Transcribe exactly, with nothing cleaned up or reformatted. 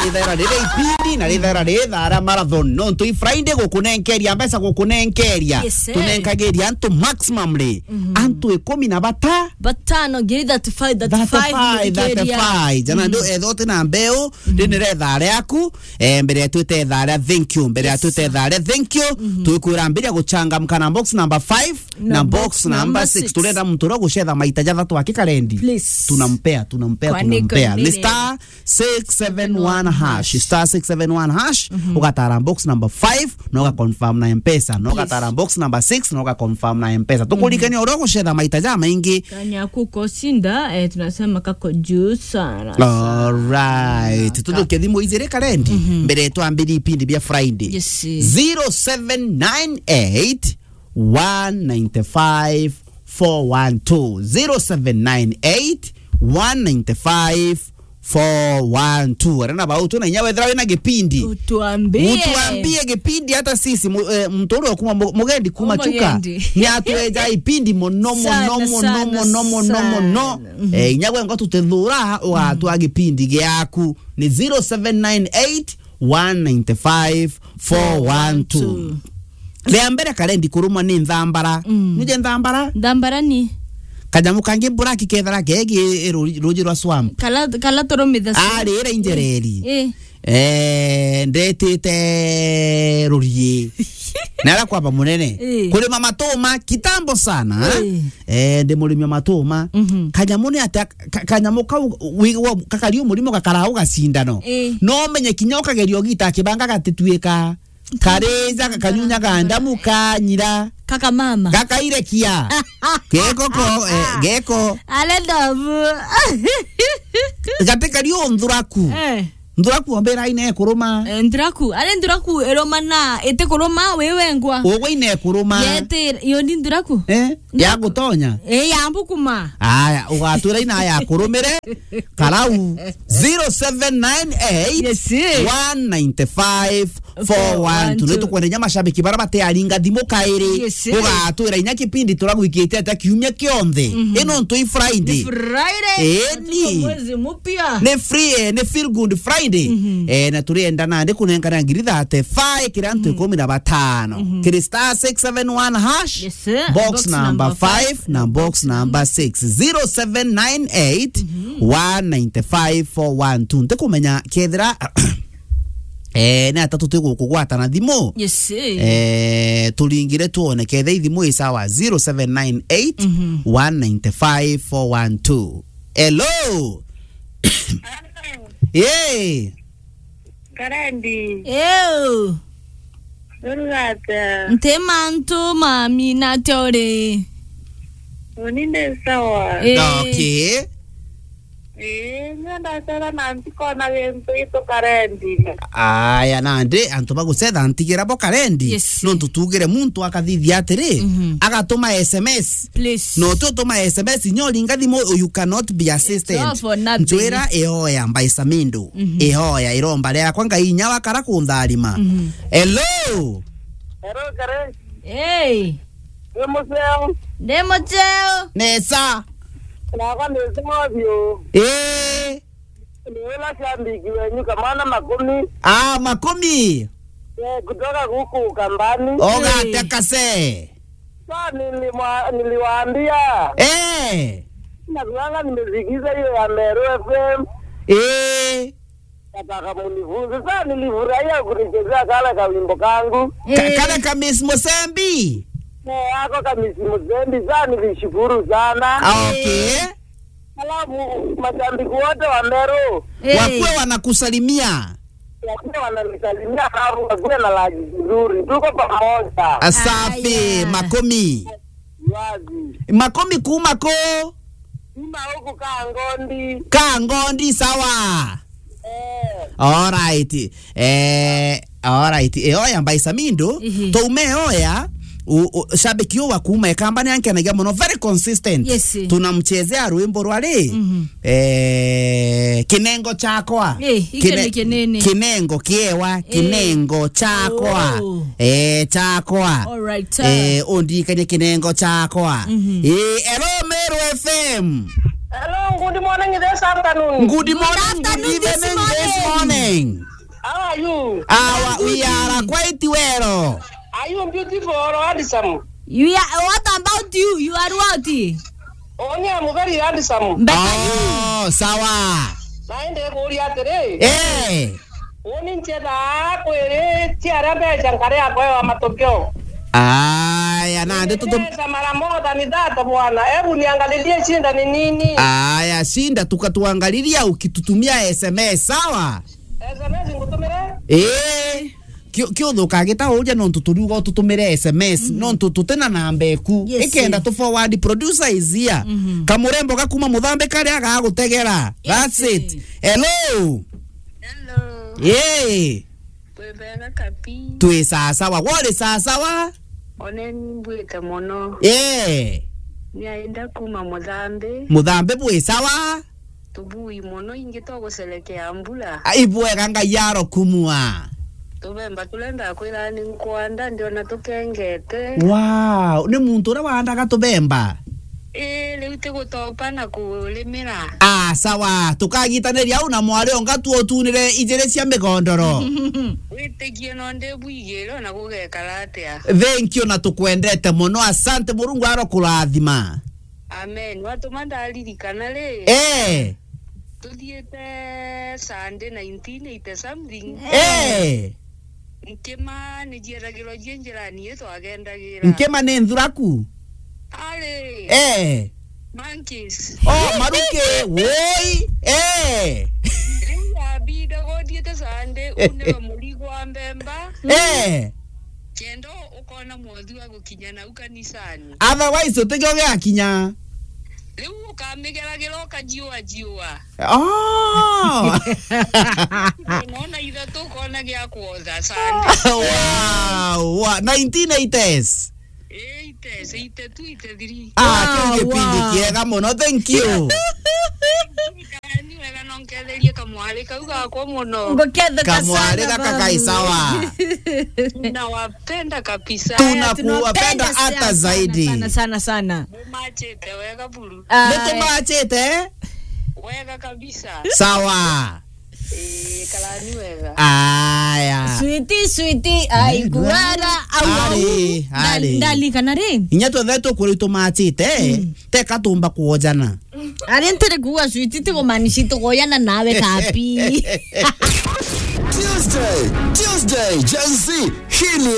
Rithaira riri ipindi na rithaira ri thaa ria marathon. Nontu i Friday gukunenkeria mbeca, gukunenkeria. Yes, sir. Tunenkagiria antu maximum ri. Mhm. Antu ikumi na bata. Batano, ngiri thirty-five, thirty-five, thirty-five, thirty-five. Jana ndio etho uti na mbeu, rinire thaa riaku, eh, mbere ya twite thaa ria thank you, mbere ya twite thaa ria thank you, tukwira mbiria guchangamka na box number five na box number six. Turenda muntu uria gucetha maita jathatu aki karendi. Please. Tunampea, tunampea, tunampea. Ni star six seven one hash, star six seven one hash, ugatara box number five, na uga confirm na M-Pesa, na ugatara box number six, na uga confirm na M-Pesa. Tukuririkania uria ugucetha maita jamaingi. Kanya kuko sinda, eh, tunasema kako juu sana, sana. Alright. Tujuke thimu ijiri karendi, mbere twambirie ipindi bia Friday. Yes. Zero seven nine eight, one nine five, four one two. Zero seven nine eight, one nine five, four one two. Arena bau tu na inya wethira wina gipindi. Utuambie. Utuambie gipindi hata sisi, mu-, eh, muntu uria kuma mu-, mugendi kuma Chuka. Ni atweja ipindi mono, mono, mono, mono, mono. Eh, inya gwe ngo tutethura, ugatwa gipindi giaku. Ni zero seven nine eight, one nine five, four one two. Ria mbere karendi kurumwa ni nthambara. Nuje nthambara? Nthambara ni? Kanyamu kangi black kethara kegi ruji rwa swamp. Kala, kala turumitha swamp. Ari ira injereri. Eh. Eh, ndetite rurie. Na ara kwamba munene. Eh. Kurima matuma kitambo sana. Eh. Eh, ndi murimi wa matuma. Kanyamu ni ati ka-, kanyamu kau wi-, wa-, kakari umurimo gakara ugacindano. Eh. No menye kinya ukageria ugita kibanga gatituika. Karija kakanyunya gandamu kanyira. Kaka mama. Gakairekia. Geko ko, eh, geko. Ale ndovu. Gati kari unthuraku. Eh. Nthuraku ombera ine kuruma. Eh, nthuraku. Ale nthuraku iruma na iti kuruma wi wengwa. Ugwe ine kuruma. Yete, yo ni nthuraku. Eh? Ya gutonya? Eh, ya mbukuma. Aya, ugatwira ina ya kurumire. Karau, zero seven nine eight, one nine five, four one two. Yes, sir. Ni tukwenda nya mashabiki bara batearinga thimu kairi. Yes, sir. Ugatwira inya kipindi turagwikite ata kiumia kionthe. Mhm. Ino ntu i Friday. Ni Friday. Eh, ni. Mwezi mpya. Ni free, eh, ni feel good Friday. Mhm. Eh, na turienda nandi kunenkana ngiri thirty-five kiri antu ikumi na batano. Mhm. Kiri star six seven one hash. Yes, sir. Box number five na box number six. Zero seven nine eight, one nine five, four one two. Ntikumenya kethira, eh, ni atatu twigukugwata na thimu. Yes, sir. Eh, turingire tuone ketha ithimu i sawa. Zero seven nine eight, one nine five, four one two. Hello. Hey. Karendi. Ew. Uruga atia? Nti mantu mami, na atia uri? Uni ndi sawa. Eh. Okay. Ii, nya ndacera na ntikona gintu itu Karendi. Aya, nandi antu bagucetha ntigira bo Karendi. Yes. Nontu tugire muntu akathithia atiri, agatuma S M S. Please. No tu tuma S M S, nyo ringa thimu, you cannot be assisted. It's all for nothing. Njwira ihoya mbaisa mindu. Ihoya iromba riakwa Ngai inya wakara kuntharima. Hello. Hello, Kare. Hey. Ni muceo. Ni muceo. Nesa. Nakwa ni sawa biu. Eh. Ni ula shabiki wenyu Kamana Makumi. Ah, Makumi. Eh, kutoka huku Kambani. Oga tekase. Sa nilimwa-, niliwaambia. Eh. Nakuanga nimesikiza hiyo ya Meru F M. Eh. Nataka munifunze. Sa nilifurahia kunichezea kale kawimbo kangu. Ka-, eh, kale ka Miss Musembi. Eh, ako ka Miss Musembi. Sa nilishukuru sana. Ah, okay. Alafu mashabiki wote wa Meru. Eh. Wakuwe wanakusalimia. Lakini wananisalimia, alafu wakuwe na lunch nzuri. Tuko pamoja. Asafi, aya. Makomi. Wazi. Makomi kuma ko? Kuma huku Kangondi. Kangondi, sawa. Eh. All right. Eh, all right. Eh, oya mbaisa mindu. Ihi. Toume oya. U-, u-, shabiki uyu wa kuuma Ikamba ni ankenagia muno, very consistent. Yes. Tunamchezea rwimbo rwa ri, eh, kinengo chakwa. Eh, hicho ni kinene. Kinengo kiewa, eh, kinengo chakwa. Oh. Eh, chakwa. All right, sir. Eh, undikanye kinengo chakwa. Eh, hello, Meru F M. Hello, good morning, this afternoon. Good morning, good evening, this morning. are you? Awa, we are quite well. Are you beautiful or handsome? You are, what about you? You are what? Only I'm very handsome. Better you. Oh, sawa. Naende kuuria atiri. Eh. Uni nchethaa kwiri ciaria mbeca nkari yakwa ya matokeo. Aya, nandi tutum- Mbeca mara more than that, bwana. Hebu niangalilie shida ni nini? Aya, shinda tukatuangalilia ukitutumia S M S, sawa? S M S ngutumire? Eh. Kio, kio thuka gita uria nontu turiuga ututumire S M S, nontu tutina namba eku. Yes, ikenda tu forward, producer is here. Kamurembo gakuma Muthambi karia gagutegera. Yes. That's it. Hello. Hello. Yee. Twi bega kapi. Twi sasawa. Wori sasawa? One ni mbwite mono. Yee. Ni ainda kuma Muthambi. Muthambi bwi sawa? Tubui mono, ingi twagucerekea mbura. A, ibwega Ngai arokumua. Tubemba turenda kwira ni nkwanda, ndiona tukengete. Wow, ni muntu uria wandaga tubemba? Ii, riu tigutopa na kurimira. Ah, sawa, tukagitaniria au na mwari onga tuotunire ijiri cia migondoro. Witikie no ndibwigire ona gugekara atia. Thank you na tukwendete mono, asante, Murungu arokurathima. Amen. Watuma ndaririkana ri? Eh. Tuthiite Sunday nineteen eighty something. Eh. Nkima ni jieragirwa jie njirani ii twagendagira. Nkima ni nthuraku? Ari. Eh. Monkeys. Oh, maruki. Woi. Eh. Riu yabida gothiite Sunday, unirwe murigo wa mbemba. Eh. Kenda ukona mwothi wa gukinya nau kanisani. Otherwise, utige ugiakinya. Riu ukamigeragira ukajiua jiua. Oh. Unaona ithatu ukona gia kuotha Sunday. Wow, wow. Nineteen eighties. Eighties, eighty-two, eighty-three. Ah, wow, kiu gipindi kiega mono. Thank you. Ni wega no nketherie kamwari kau gakwa mono. Nguketheka sana, kamwari gaka kai sawa. Tunawapenda kabisa. Aya, tunawapenda hata zaidi. Sana, sana, sana. Mumachite wega buru. Aya. Nitumachite? Wega kabisa. Sawa. Eh, karani wega. Aya. Sweetie, sweetie, ai, kuwara, au, au. Ari, ari. Ndali, ndali, kana ri? Inya twethe tukwira itumachite, teka tumba kuojana. Ari ntiri kuuga sweetie, ti kumaanisha tukoyana nawe kapi. Tuesday, Tuesday, Gen Z, hii ni